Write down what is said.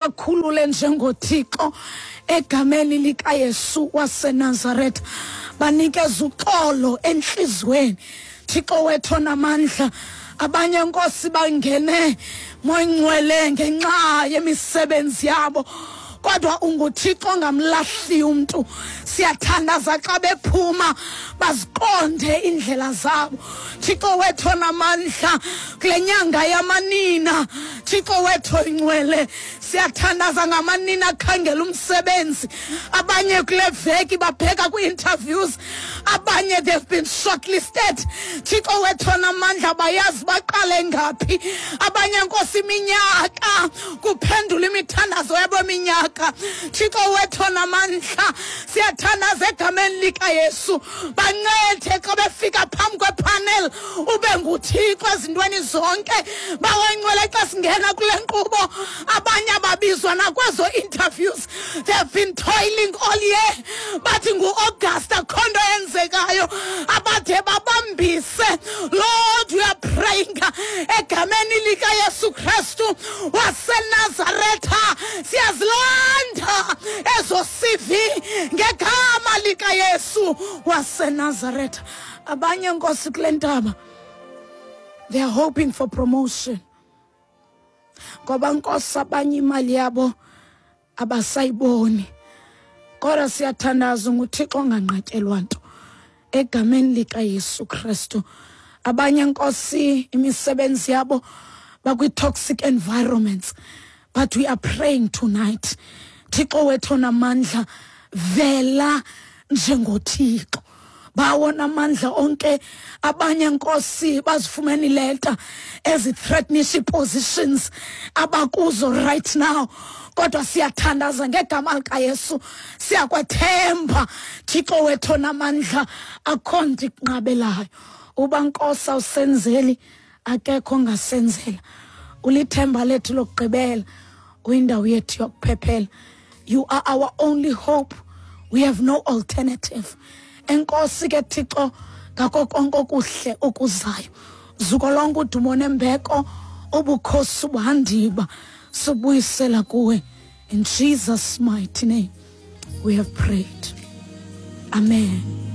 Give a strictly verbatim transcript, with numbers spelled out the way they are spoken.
Bakhulule njengoThixo egameni likaYesu waseNazaretha, banikeza uxolo entliziyweni. Thixo wethu onamandla, abanye Nkosi bangene moyingcwele ngenxa yemisebenzi yabo, kodwa unguThixo ongamlahli umntu. Siyathandaza xa bephuma baziqonde indlela zabo. Thixo wethu onamandla, kule nyanga yamanina, Thixo wethu oyingcwele, siyathandaza ngamanina akhangela umsebenzi. Abanye kule veki babheka kwii-interviews, abanye they've been shortlisted. Thixo wethu onamandla, bayazi baqale ngaphi. Abanye Nkosi iminyaka kuphendula imithandazo yabo minyaka. Thixo wethu onamandla, siyathandaza egameni likaYesu, bancede xa befika phambi kwepanel, ube nguThixo ezintweni zonke. Bawengcwele, xa singena kule nkqubo, abanye ababizwa nakwezo interviews. They have been toiling all year, bathi ngu-August akho nto yenzekayo, abade babambise. Lord, we are praying egameni likaYesu Kristu waseNazaretha, siyazilanda ezo C V ngegama likaYesu waseNazaretha. Abanye Nkosi kule ntaba, they are hoping for promotion, ngoba Nkosi abanye imali yabo abasayiboni, kodwa siyathandaza, nguThixo onganqatyelwa nto egameni likaYesu Kristu. Abanye Nkosi imisebenzi yabo bakwi-toxic environments, but we are praying tonight, Thixo wethu onamandla, vela njengoThixo bawona amandla onke. Abanye Nkosi bazifumene ileta ezi-threatenisha positions abakuzo right now, kodwa siyathandaza ngegama likaYesu, siyakwethemba Thixo wethu onamandla, akho nto ikunqabelayo. Uba Nkosi awusenzeli, akekho ongasenzela. Ulithemba lethu lokugqibela, uyindawo yethu yokuphephela. You are our only hope, we have no alternative. Enkosi ke Thixo ngako konke okuhle okuzayo. Zuko lonke, udumo nembeko, ubukhosi, ubuhandiba subuyisela kuwe. In Jesus' mighty name we have prayed, amen.